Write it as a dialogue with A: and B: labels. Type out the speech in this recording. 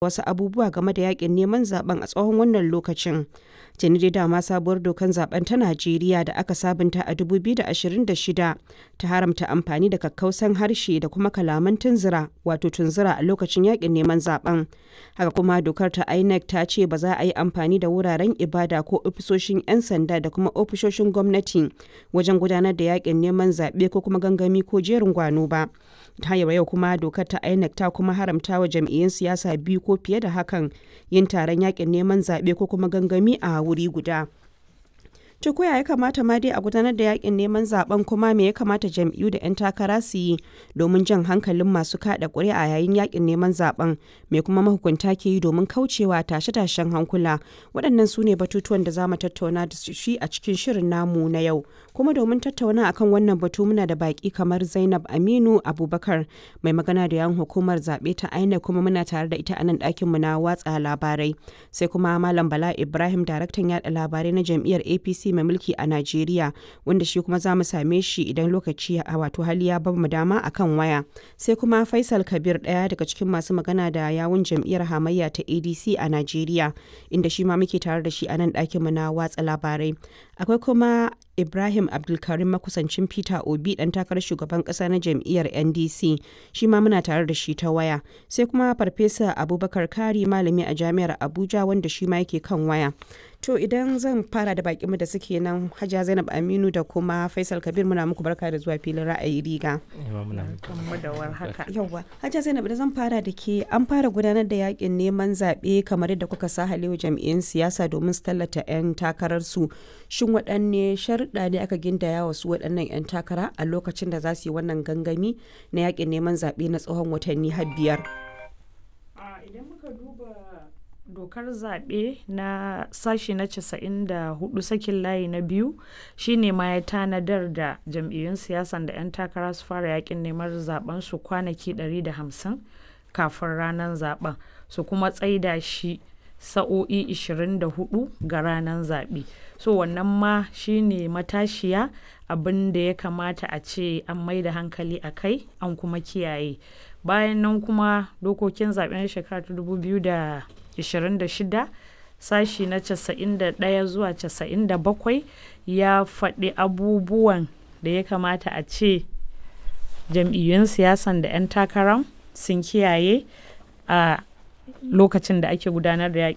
A: Wasu abubuwa game da yakin neman zaben a tsawon wannan lokacin. Tuni dai dama sabuwar dokar zaben ta Najeriya da aka sabunta a 2026 ta haramta amfani da kakkausan harshe da kuma kalaman tunzura wato tunzura a lokacin yakin neman zaben. Haka kuma dokar ta INEC ta ce ba za a yi amfani da wuraren ibada ko ofisoshin 'yan sanda da kuma ofisoshin gwamnati wajen gudanar da yakin neman zaɓe ko kuma gangami ko jerin gwano ba. Ta yau kuma dokar ta INEC ta kuma haramta wa jam'iyyun siyasa biyu ko fiye da hakan yin taron yakin neman zaɓe ko kuma gangami a wuri guda. To ko ya kamata ma dai a gudanar da yakin neman zaben, kuma me ya kamata jam'iyyu da 'yan takara su yi domin jan hankalin masu kada ƙuri'a yayin yakin neman zaben, me kuma mahukunta ke yi domin kaucewa tashe-tashen hankula? Waɗannan su ne batutuwan da za mu tattauna da shi a cikin shirin namu na yau. Kuma domin tattauna akan wannan batu muna da baƙi kamar Zainab Aminu Abubakar, mai magana da yan hukumar zaɓe ta INEC, kuma muna tare da ita a nan ɗakin mu na watsa labarai. Sai kuma Malam Bala Ibrahim, daraktan yaɗa labarai na jam'iyyar APC mai mulki a Najeriya, wanda shi kuma za mu same shi idan lokaci a wato hali ya bamu dama akan waya. Sai kuma Faisal Kabir, ɗaya daga cikin masu magana da yawun jam'iyyar hamayya ta ADC a Najeriya, inda shi ma muke tare da shi a nan ɗakin mu na watsa labarai. Akwai kuma Ibrahim Abdulkarim, makusancin Peter Obi, dan takarar shugaban kasa na jam'iyyar NDC, shi ma muna tare da shi ta waya. Sai kuma Farfesa Abubakar Kari, malami a Jami'ar Abuja, wanda shi ma yake kan waya. To idan zan fara da bakinmu da suke nan, Hajiya Zainab Aminu da kuma Faisal Kabir, muna muku barka da zuwa filin Ra'ayi Riga. Yawwa, Hajiya Zainab, da zan fara da ke, an fara gudanar da yakin neman zaɓe kamar yadda kuka sa halewa jam'iyyun siyasa domin su tallata 'yan takararsu. Shin waɗanne sharuɗa ne aka gindaya wa su waɗannan 'yan takara a lokacin da za su yi wannan gangami na yakin neman zaɓe na tsawon watanni har 5?
B: Idan muka duba dokar zaɓe na sashi na 94 sakin layi na biyu, shine ma ya tanadar da jam'iyyun siyasan da 'yan takara su fara yakin neman zaben su kwanaki 150 kafin ranar zaben, su kuma tsaida shi sa'o'i 24 ga ranar zaɓe. So wannan ma shine matashiya abin da ya kamata a ce an mai da hankali a kai an kuma kiyaye. Bayan nan kuma dokokin zaɓen shekara ta 2026 sashi na 91 zuwa 97 ya faɗi abubuwan da ya kamata a ce jam'iyyun siyasan da 'yan takaran sun kiyaye a lokacin da ake gudanar da yakin